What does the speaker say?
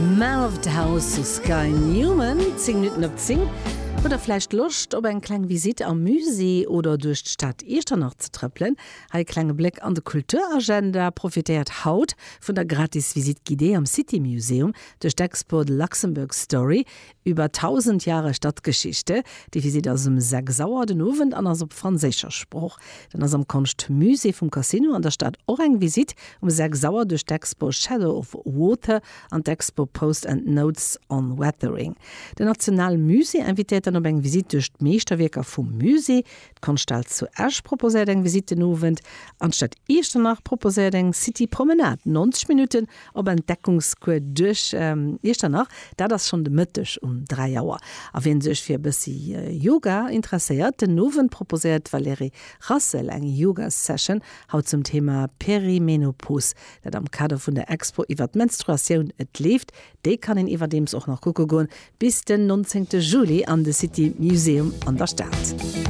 Man of the House zu Sky Newman, 10 Minutten op 10. Hutt der vläicht Loscht op eng kleng Visitt am Musée oder duerch d'Stad Iechternach ze trëppelen? Hei e klenge Bléck an de Kulturagenda. Profitéiert haut vun der gratis Visite guidée am City Museum duerch d'Expo The Luxembourg Story, Über 1.000 Jahre Stadtgeschichte. Déi Visitt ass um 6 Auer den Owend an ass op franséischer Sprooch. Dann ass am Konschtmusée vum Casino an der Stad och eng Visitt um 6 Auer duerch d'Expo Shadow of Water an d'Expo Post and Notes on Weathering. Den Nationalmusée invitéiert dann op eng Visitt duerch d'Meeschterwierker vum Musée. D'Konschthal zu Esch proposéiert eng Visitt den Owend an d'Stad Iechternach proposéiert eng City Promenade, 90 Minutten op Entdeckungscours duerch Iechternach. Dat ass schonn de Mëtteg um 3 Auer. A wien sech fir e bëssi Yoga interesséiert, den Owend proposéiert d'Valérie Rassel eng Yoga-Session, haut zum Thema Perimenopos. Dat am Kader vun der Expo iwwer d'Menstruatioun Et leeft. Déi kann een iwwerdeems och nach kucke goen bis den 19 Juli an de City Museum an der Stad.